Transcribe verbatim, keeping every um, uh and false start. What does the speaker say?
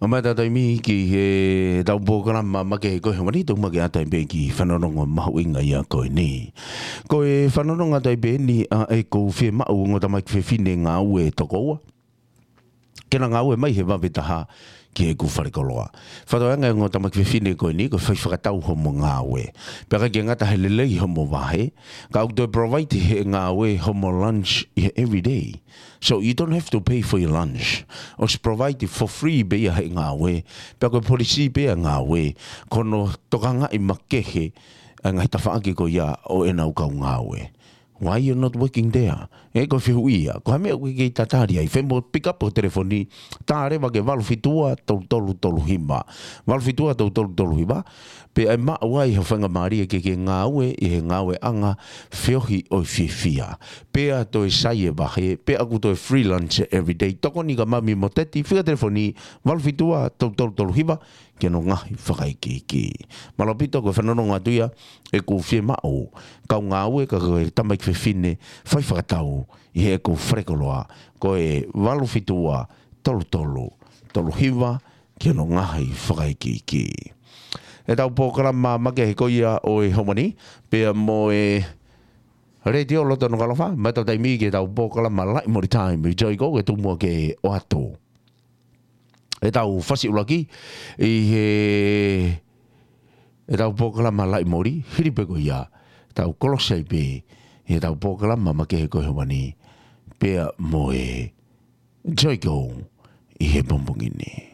ʻOmai ʻetau taimi ki heʻetau polokalama makehe ko e homa ni, tau makehe atu ai pē ki he fanongonga mahuʻinga ia ko eni. Ko e fanongonga atu ai pē eni ʻa ʻeku fiemaʻu ongo tamaiki fefine ngāue toko ua ke na ngāue mai he vave taha ki heʻeku falekoloa. Fakatokangaʻi ongo tamaiki fefine ko eni, ko e fai fakatau homo ngāue. Pea ʻikai ke ngata he lelei homo vahe, ka ʻoku toe provide he ngāue homo lunch ʻi he everyday. So you don't have to pay for your lunch. ʻOsi provide for free pē ia he ngāue. Pea ko e policy pē ʻa e ngāue, ko hono tokangaʻi makehe ʻa e ngaahi tafaʻaki ko ia ʻo ʻenau kau ngāue. Why you not working there? ʻE, ko e fehuʻi ia. Ko ha meʻa ʻoku ke tatali ai, fai mo pick up ho telefoni, tā leva ki he valu fitu ua tolu tolu tolu hiva. Valu fitu ua tolu tolu tolu hiva. Pea ʻe maʻu ai ha faingamālie ke ke ngāue ʻi he ngāueʻanga feohi ʻo e fiefia. Pea toe sai e vahe, pea ʻoku toe free lunch everyday. Tokoni kia Mami mo Teti, fika telefoni, valu fitu ua tolu tolu tolu hiva, ki hono ngaahi fakaikiiki. Mālō ʻaupito, ko e fanongonga atu ia ʻeku fiemaʻu kau ngāue ka ko e tamaiki fefine fai fakatau ʻi heʻeku falekoloa, ko e valu fitu ua tolu tolu tolu hiva, ki hono ngaahi fakaikiiki. ʻEtau polokalama makehe ko ia ʻo e homa ni, pea mo e Letiō Loto Nukuʻalofa, ʻomai ʻetau taimi ki heʻetau polokalama Laʻi Moli Taimi, Joy Go, ke tuku muʻa ke ʻoatu ʻetau fasi ʻuluaki ʻi heʻetau polokalama Laʻi Moli, hili pē ko ia, tau kolosi ai pē ʻi heʻetau polokalama makehe ko e homa ni, pea mo e Joy Go ʻi he pongipongi ni.